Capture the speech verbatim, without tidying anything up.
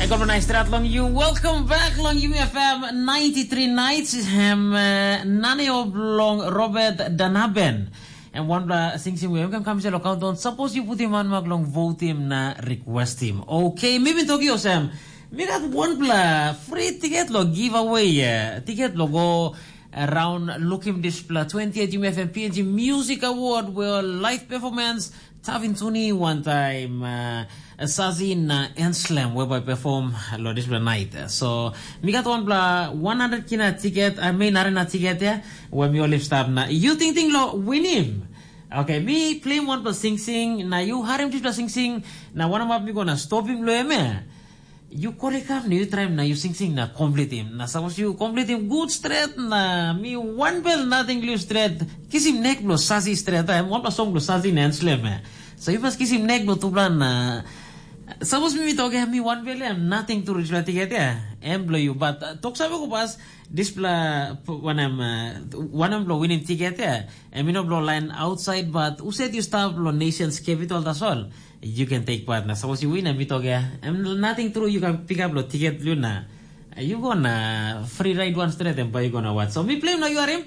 Kom na strat long you. Welcome back long U F M ninety-three Nights. Hem uh, nani o blong Robert Danaben. And one bla sing sing we kam se lo countdown. Suppose you put him on mak long vote him na request him. Okay, maybe Tokyo Sam. Mi got one bla free ticket lo giveaway. Uh, ticket lo go around look him display twenty-eight U F M P N G Music Award where live performance Tavin Tuni one time uh, Sazi na Enslem we by perform lo display night. So mi got one bla one hundred kina ticket, I mean arena ticket ya, we mi olip stap na you think ting lo win him. Okay, mi play one bla sing sing na you harim display sing sing na one of mi gonna stop him lo him eh. You korekam na you traim na you singsing na komplitim. Na sapos you komplitim gut stret na mi wanbel nating liu stret. Kisim nek bilong sasi stret, em wanpela song bilong sasi na enslem ya. So you mas kisim nek bilong tupela na sapos mi mi tok ya mi wanbel ya nating tu dispela tiket ya. Em bilong you, but uh, tok save ko pas dispela wanem uh, wanem bilong winim tiket ya. Em you know bilong lain outside, but uset you stap bilong nations capital tasol. You can take part na suppose you win em mi tok ya. Em nothing true you can pick up lo ticket lu na. You go na free ride one straight and buy you gonna watch. So me play now you are him.